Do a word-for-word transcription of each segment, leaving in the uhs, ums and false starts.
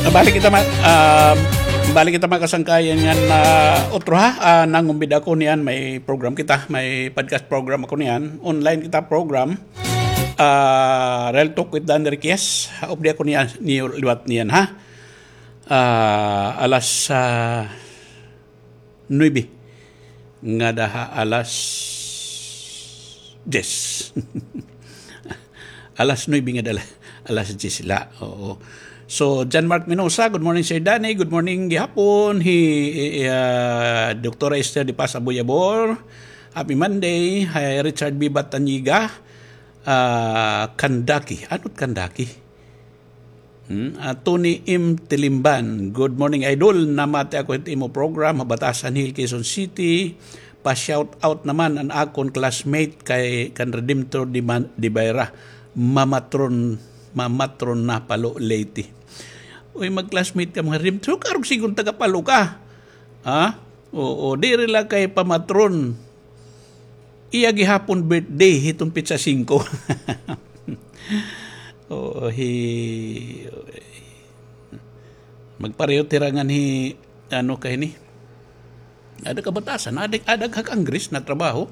Balik kita, ma-, ah, balik kita, mga kasangkayan, ngan, ah, utro ha, ah, nangumbida ako niyan, may program kita, may podcast program ako niyan, online kita program, ah, Real Talk with Dan Riquez, updi ako niyan, niyo liwat niyan, ha? Ah, alas, ah, nuebe ngada ha alas diyes. Alas nuebe ngada ha alas diyes la. Oo. So, John Mark Minosa, good morning, Sir Danny. Good morning gihapon. Hi, ah, Doktora Esther de Paz Aboyabor. Happy Monday. Hi, Richard Bibat Tanyiga. Ah, Kandaki. Ano't Kandaki? Hmm, ah, Tony M Tilimban, good morning, idol. Namati ako hit imo program ha Batasan Hill, Quezon City. Pa-shout out naman an akon classmate kay kan Redemptor de Man-, de Bayra. Mamatron, mamatron na Palo, Leyte. Uy, mag-classmate ka, mga Redemptor. Karog sigon taga Palo ka. Ha? Oo, diri la kay pamatron. Iya gihapon birthday hiton petsa singko. Oo, hi-, magpareho hira ngan hi, ano ka hini? Ada ka Batasan, ada, ada ka Congress na trabaho.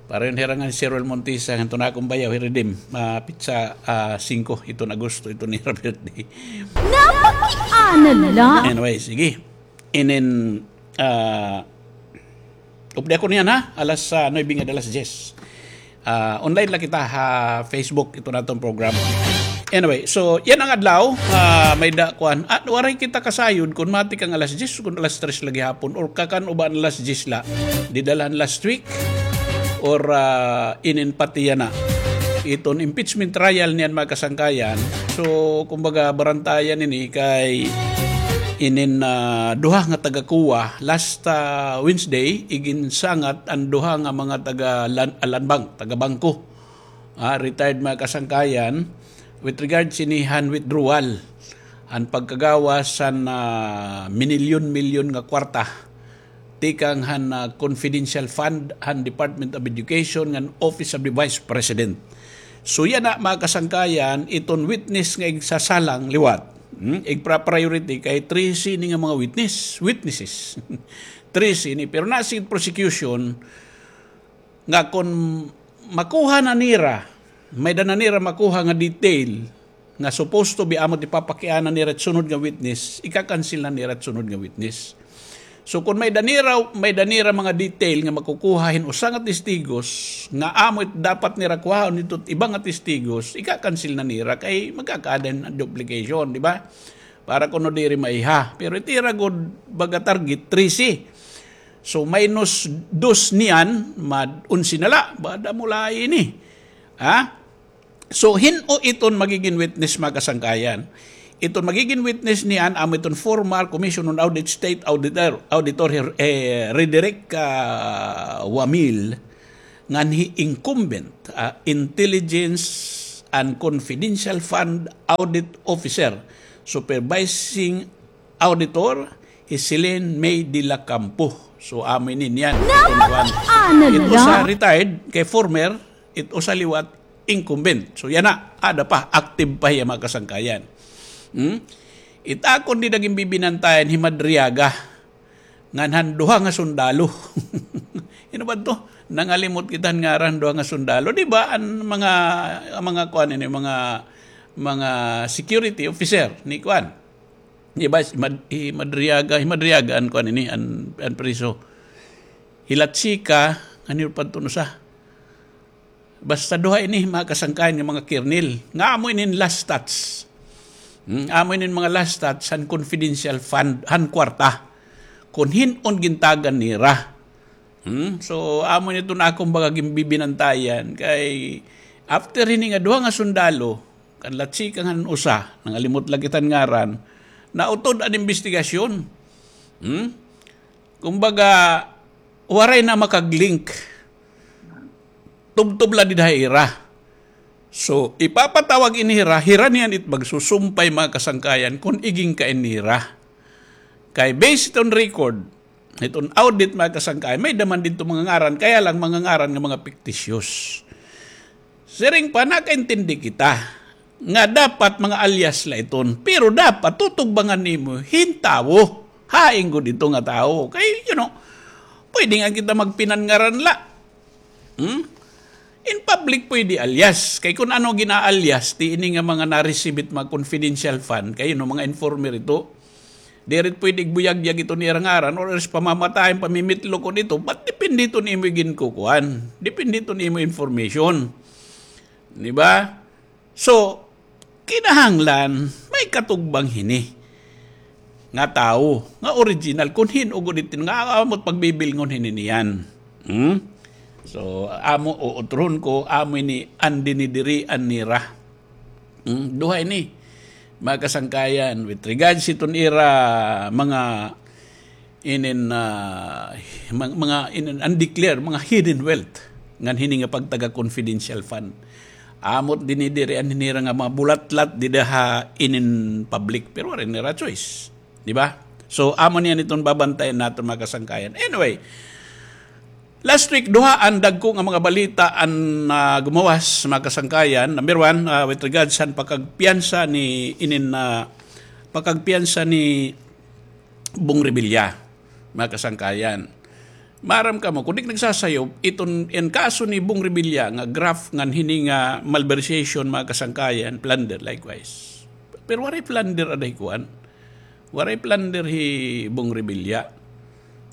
Pareho hira ngan hi Sir Roel Montisa, ngan iton akon bayaw, hi Redim, ah, petsa, ah, singko, hiton Agosto, iton ira birthday. Napakiana la. Anyway, sige. Inin, ah, updi ako niyan, ha? Alas, ah, nuebe ngada alas diyes. Ah, online la kita ha Facebook, iton aton program. Anyway, so, yana nga adlaw, ah, may-ada kuan. At waray kita kasayod kon matik an alas diyes, kon alas tres la gihapon, or kakan-o ba an alas diyes la. Dida la han last week, or, ah, inin pati yana. Iton impeachment trial niyan, mga kasangkayan. So, kumbaga, barantayan ini kay inin, ah, duha nga taga-COA, last, ah, Wednesday, iginsangat an duha nga mga taga-lan-, ah, land bank, taga-bangko. Ah, retired, mga kasangkayan, with regards ini han withdrawal, han pagkagawas han, ah, minilyon-milyon nga kwarta tikang han, ah, confidential fund han Department of Education ngan Office of the Vice President. So, yana, mga kasangkayan, iton witness nga igsasalang liwat. Hmm? Igpra-priority kay trese ini nga mga witness, witnesses. Trese ini. Pero nasiring prosecution nga kon makuha na nira, may-ada na nira makuha nga detail, nga supposed to be amo it ipapakiana nira it sunod nga witness, ika-cancel na nira it sunod nga witness. So, kon may-ada nira, may-ada nira mga detail nga makukuha hin usa nga testigos, nga amo it dapat nira kuhaon didto it iba nga testigos, ika-cancel na nira kay magkakaada hin duplication, di ba? Para kuno diri maiha. Pero it ira gud baga target, trese. So, minus dos niyan, mad-onse na la, bada mo la ini. Ha? So, hin-o iton magigin witness, mga kasangkayan? Iton magigin witness niyan, amo iton former Commission on Audit State Auditor, Auditor Her-, eh, Rederick, ah, Wamil, ngan hi incumbent, ah, Intelligence and Confidential Fund Audit Officer, Supervising Auditor, hi Celine May de la Campo. So, amo ini niyan. Napakiana la. It usa retired, kay former, it usa liwat incumbent. So, yana, ada pa, active pa hiya, mga kasangkayan. Hmm? It akon dida ginbibinantayan hi Madriaga. Ngan han duha nga sundalo. Hin-o ba to? Nangalimot kita han ngaran, duha nga sundalo. Di ba, an mga, an mga kuan ini, mga, mga security officer ni kuan. Di ba, hi Mad-, hi Madriaga, hi Madriaga an kuan ini, an, an priso. Hi Lachica, ano pa to, usa? Basta duha ini, mga kasangkayan, nga mga kernel. Nga amo inin last touch. Hmm, amo inin mga last touch han confidential fund, han kwarta. Kon hin-o an gintagan nira. Hmm? So, amo ini iton akon baga ginbibinantayan. Kay, after hini nga duha nga sundalo, kan Lachica ngan usa, nangalimot la kita han ngaran, nautod an imbestigasyon. Hmm? Kumbaga, waray na makag-link. Tubtob la dida ha ira. So, ipapatawag ini hira, hira niyan it magsusumpay, mga kasangkayan, kon igin kain nira. Kay based on record, iton audit, mga kasangkayan, may-ada man didto mga ngaran, kaya lang mga ngaran nga mga fictitious. Siring pa, nakaintindi kita. nga dapat mga alias la iton. Pero dapat tutugbangan nimo hin tawo. Hain gud ito nga tawo. Kay, you know, pwede nga kita magpinanngaran la. Hmm? In public pwede alias. Kay kun ano gina-alias, ti ini nga mga na-receive it mga confidential fund, kay, you know, mga informer ito. Diri pwede igbuyagyag ito nira ngaran or else pamamatayan, pamimitlokon ito. But depende ito nimo ginkukuan. Depende ito nimo information. Di ba? So, kinahanglan may katugbang hini nga tawo, nga original, kun hin-o gud iton nga amot pagbibilngon hini niyan. Hmm? So, amo, uutrohon ko, amo ini an dinidirian nira. Hmm? Duha ini, mga kasangkayan, with regards iton ira mga inin, ah, mga, mga inin undeclared, mga hidden wealth ngan hini nga pagtaga confidential fund. Amot dinidirian nira nga mga bulatlat dida ha inin public, pero waray nira choice, di ba? So, amo niyan iton babantayan naton, mga kasangkayan. Anyway, last week, duha an dagko nga mga balita an, ah, gumawas, mga kasangkayan. Number one, ah, with regards han pakagpiyansa ni inin, ah, pakagpiyansa ni Bong Revilla, mga kasangkayan. Maaram kamo, kun di nagsasayo, iton, in kaso ni Bong Revilla nga graft ngan hini nga malversation, mga kasangkayan, plunder likewise. Pero waray plunder aday kuan. Waray plunder hi Bong Revilla.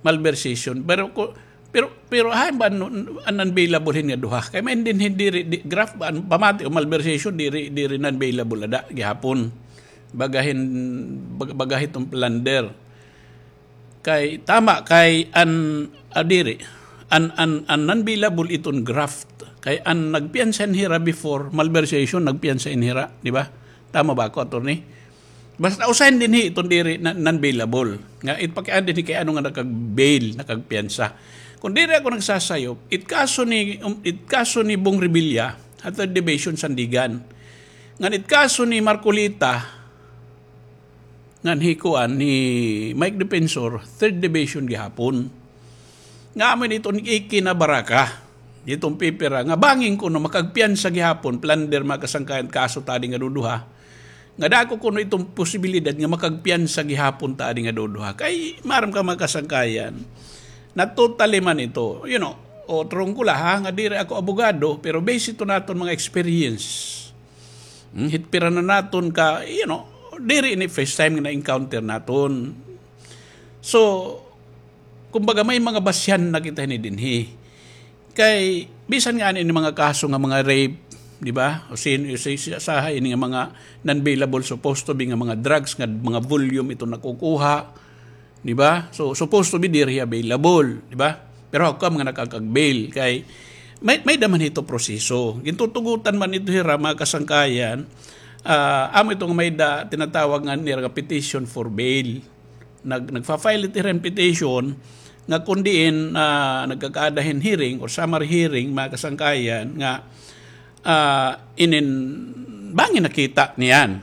Malversation. Pero ko, pero, pero hain ba an, an unbailable hin nga duha? Kay may din, hindi ri-, di, graft ba, an, pamati o malversation, diri, diri unbailable ada gihapon. Bagahin, bag-, bagahi iton plunder. Kay tama kay an, ah, diri. An, an, an unbailable iton graft. Kay an nagpiyansa in hira before, malversation, nagpiyansa in hira, di ba? Tama ba ako, attorney? Basta usahay dinhi iton diri na, unbailable. Nga ipakiana dinhi kay ano nga nakag-bail, nakagpiyansa. Kun diri ako nagsasayop, it kaso ni, um, it kaso ni Bong Revilla, ha Third Division, Sandigan. Ngan it kaso ni Marcoleta, ngan hi kuan, ni Mike Defensor, Third Division gihapon. Nga amo ini iton ikinabaraka, iton pipira, nga bangin kuno makagpiyansa gihapon, plunder, mga kasangkayan, kaso ta adi nga duduha. Nga dako kuno iton posibilidad nga makagpiyansa gihapon ta adi nga duduha. Kay, maaram ka, mga kasangkayan, na totally man ito, you know, o, trong ko la, ha, nga diri ako abogado, pero base ito naton mga experience. Hmm, hit pira na naton ka, you know, diri ini first time nga na-encounter naton. So, kumbaga, may mga basihan na kita hini dinhi. Kay, bisan nga ani ini mga kaso nga mga rape, di ba? O sin, o si, si, usahay ini nga mga non-bailable, supposed to be nga mga drugs, nga mga volume ito nakukuha. Di ba? So, supposed to be diri available, di ba? Pero how come nga nakakag-bail? Kay may, may-ada man ito proseso. Gintutugutan man ito hira, mga kasangkayan, ah, amo ito nga may-ada tinatawag nga nira nga petition for bail. Nag-, nagfa-file ito hira hin petition nga kun diin, ah, nagkakaada hin hearing or summary hearing, mga kasangkayan, nga, ah, inin bangin nakita niyan.